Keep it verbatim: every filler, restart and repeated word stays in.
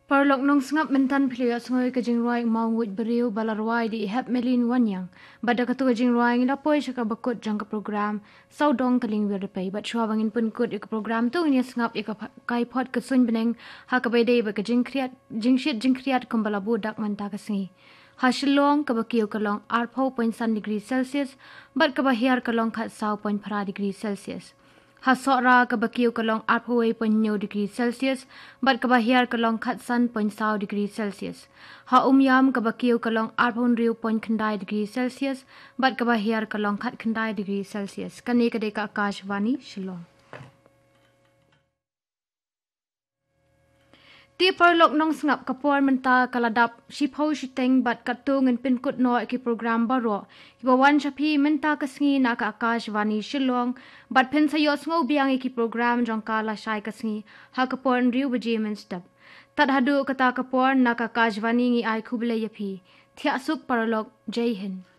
Paralok nongsngap, mynta phi la ïohsngew ïa ka jingrwai Mawnguid Briew ba la rwai da i Hepmelin Wanniang. Bad da katu ka jingrwai ngi la poi sha kaba kut jong ka program Sawdong Ka Lyngwiar Dpei. Bad shuwa ba ngin pynkut ïa ka program, to ngin ïa sngap ïa ka pha-, kai phot ka suiñ bneng ha kaba ïadei bad ka jingkhriat, jingshit jingkhriat kumba la buh dak mynta ka sngi. Ha Shillong kaba kiew ka long arphew point san degree Celsius bad kaba hiar ka long khatsaw point phra degree Celsius. Ha Sohra kaba kiew ka long arphew wei point hynñiew degree Celsius bad kaba hiar ka long khatsan point saw degree Celsius. Ha Umiam kaba kiew ka long arphew hynriew point khyndai degree Celsius bad kaba hiar ka long khatkhyndai degree Celsius. Kane ka dei ka Akashvani Shillong. Te paralok nongsngap, ka por mynta ka la dap shiphew shiteng bad katto ngin pynkut noh ïa ki program baroh kiba wan sha phi mynta ka sngi na ka Akashvani Shillong, bad phin sa ïohsngew biang ïa ki program jong ka lashai ka sngi ha ka por hynriew baje mynstep. Tad haduh kata ka por, na ka Akashvani ngi ai khublei ïa phi. Thiah suk paralok, Jai Hind.